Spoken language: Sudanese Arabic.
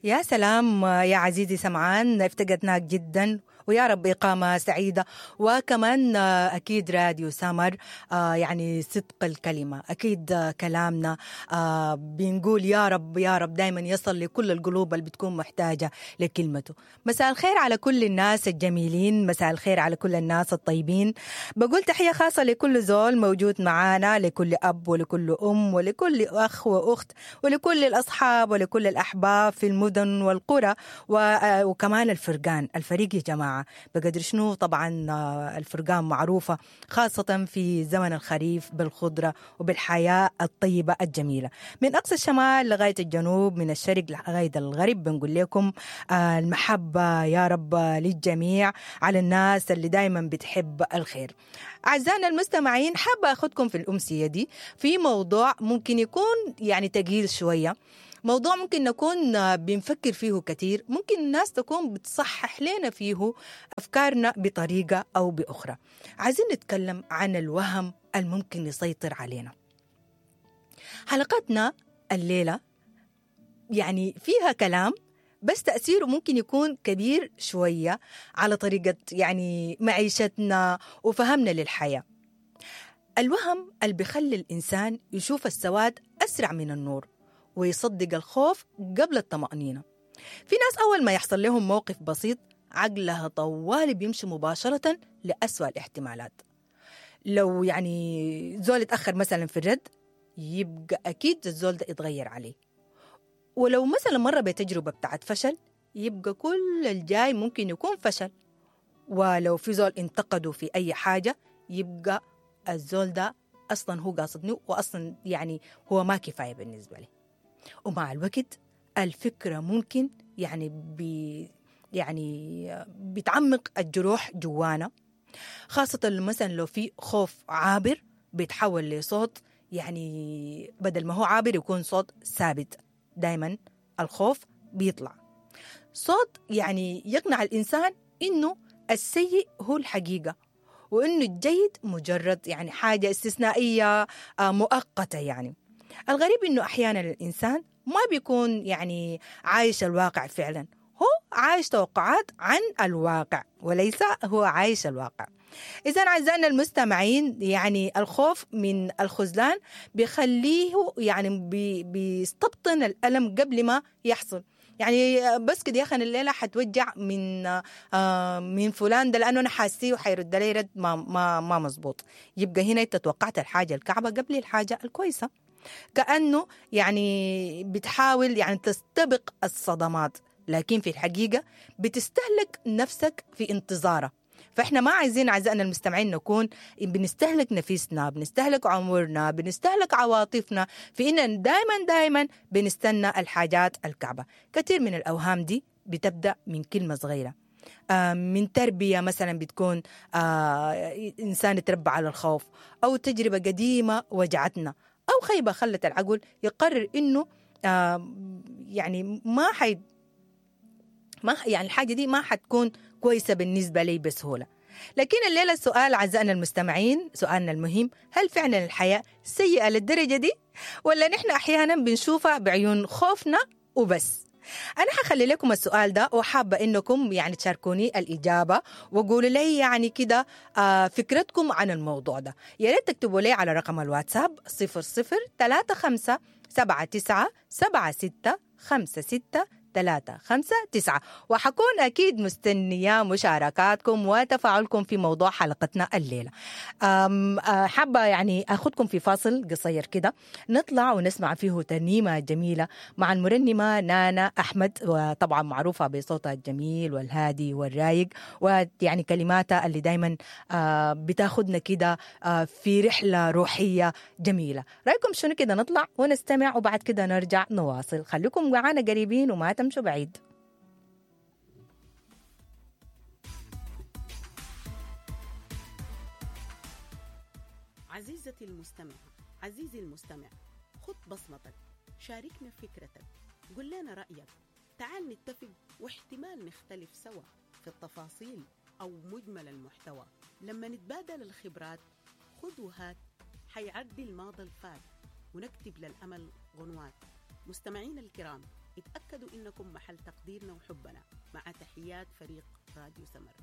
يا سلام يا عزيزي سمعان، افتقدناك جدا، ويا رب إقامة سعيدة. وكمان أكيد راديو سمر يعني صدق الكلمة، أكيد كلامنا بنقول يا رب يا رب دايما يصل لكل القلوب اللي بتكون محتاجة لكلمته. مساء الخير على كل الناس الجميلين، مساء الخير على كل الناس الطيبين. بقول تحية خاصة لكل زول موجود معانا، لكل أب ولكل أم ولكل أخ وأخت ولكل الأصحاب ولكل الأحباب في المدن والقرى، وكمان الفرقان، الفريق يا جماعة بقدر شنو. طبعا الفرقان معروفة خاصة في زمن الخريف بالخضرة وبالحياة الطيبة الجميلة، من أقصى الشمال لغاية الجنوب، من الشرق لغاية الغرب. بنقول لكم المحبة يا رب للجميع، على الناس اللي دايما بتحب الخير. أعزائنا المستمعين، حابة أخذكم في الأمسية دي في موضوع ممكن يكون يعني تقيل شوية، موضوع ممكن نكون بنفكر فيه كثير، ممكن الناس تكون بتصحح لنا فيه أفكارنا بطريقة أو بأخرى. عايزين نتكلم عن الوهم الممكن يسيطر علينا. حلقتنا الليلة يعني فيها كلام بس تأثيره ممكن يكون كبير شوية على طريقة يعني معيشتنا وفهمنا للحياة. الوهم اللي بيخلي الإنسان يشوف السواد أسرع من النور ويصدق الخوف قبل الطمأنينة. في ناس أول ما يحصل لهم موقف بسيط عقلها طوال بيمشي مباشرة لأسوأ الاحتمالات. لو يعني زول اتأخر مثلا في الرد يبقى أكيد الزول ده اتغير عليه، ولو مثلا مرة بتجربة بتاعت فشل يبقى كل الجاي ممكن يكون فشل، ولو في زول انتقده في أي حاجة يبقى الزول ده أصلا هو قاصدني، وأصلا يعني هو ما كفاية بالنسبة لي. ومع الوقت الفكرة ممكن يعني يعني بتعمق الجروح جوانا، خاصة مثلا لو في خوف عابر بيتحول لصوت، يعني بدل ما هو عابر يكون صوت ثابت. دايما الخوف بيطلع صوت يعني يقنع الإنسان إنه السيء هو الحقيقة، وإنه الجيد مجرد يعني حاجة استثنائية مؤقتة. يعني الغريب إنه أحيانا الإنسان ما بيكون يعني عايش الواقع فعلا، هو عايش توقعات عن الواقع وليس هو عايش الواقع. إذا أعزائنا المستمعين، يعني الخوف من الخذلان بيخليه يعني بيستبطن الألم قبل ما يحصل. يعني بس كده يا أخي الليلة حتوجع من فلان ده لأنه أنا حاسيه وحيرد لي رد ما مزبوط. يبقى هنا أنت توقعت الحاجة الكعبة قبل الحاجة الكويسة، كأنه يعني بتحاول يعني تستبق الصدمات، لكن في الحقيقة بتستهلك نفسك في انتظارها. فإحنا ما عايزين أعزائنا المستمعين نكون بنستهلك نفسنا، بنستهلك عمرنا، بنستهلك عواطفنا في إن دايما دايما بنستنى الحاجات الكعبة. كثير من الأوهام دي بتبدأ من كلمة صغيرة، من تربية مثلا بتكون إنسان تربى على الخوف، أو تجربة قديمة وجعتنا، أو خيبة خلت العقل يقرر إنه يعني ما يعني الحاجة دي ما حتكون كويسة بالنسبة لي بسهولة. لكن الليلة السؤال أعزائنا المستمعين، سؤالنا المهم، هل فعلا الحياة سيئة للدرجة دي، ولا نحن أحيانا بنشوفها بعيون خوفنا وبس؟ أنا حخلي لكم السؤال ده، وحابة إنكم يعني تشاركوني الإجابة وقولوا لي يعني كده فكرتكم عن الموضوع ده. يا ريت تكتبوا لي على رقم الواتساب 00 35 79 76 56 3 5 9، وحكون أكيد مستنية مشاركاتكم وتفاعلكم في موضوع حلقتنا الليلة. حابة يعني أخذكم في فاصل قصير كده نطلع ونسمع فيه ترنيمة جميلة مع المرنمة نانا أحمد، وطبعا معروفة بصوتها الجميل والهادي والرايق، ويعني كلماتها اللي دايما بتاخدنا كده في رحلة روحية جميلة. رأيكم شنو كده؟ نطلع ونستمع وبعد كده نرجع نواصل. خليكم معانا قريبين وما تمشوا بعيد. عزيزتي المستمعة، عزيزي المستمع، خد بصمتك، شاركنا فكرتك، قل لنا رأيك، تعال نتفق واحتمال نختلف سوا في التفاصيل أو مجمل المحتوى. لما نتبادل الخبرات خد وهات، حيعدي الماضي الفات ونكتب للأمل غنوات. مستمعين الكرام، اتأكدوا إنكم محل تقديرنا وحبنا. مع تحيات فريق راديو سمر.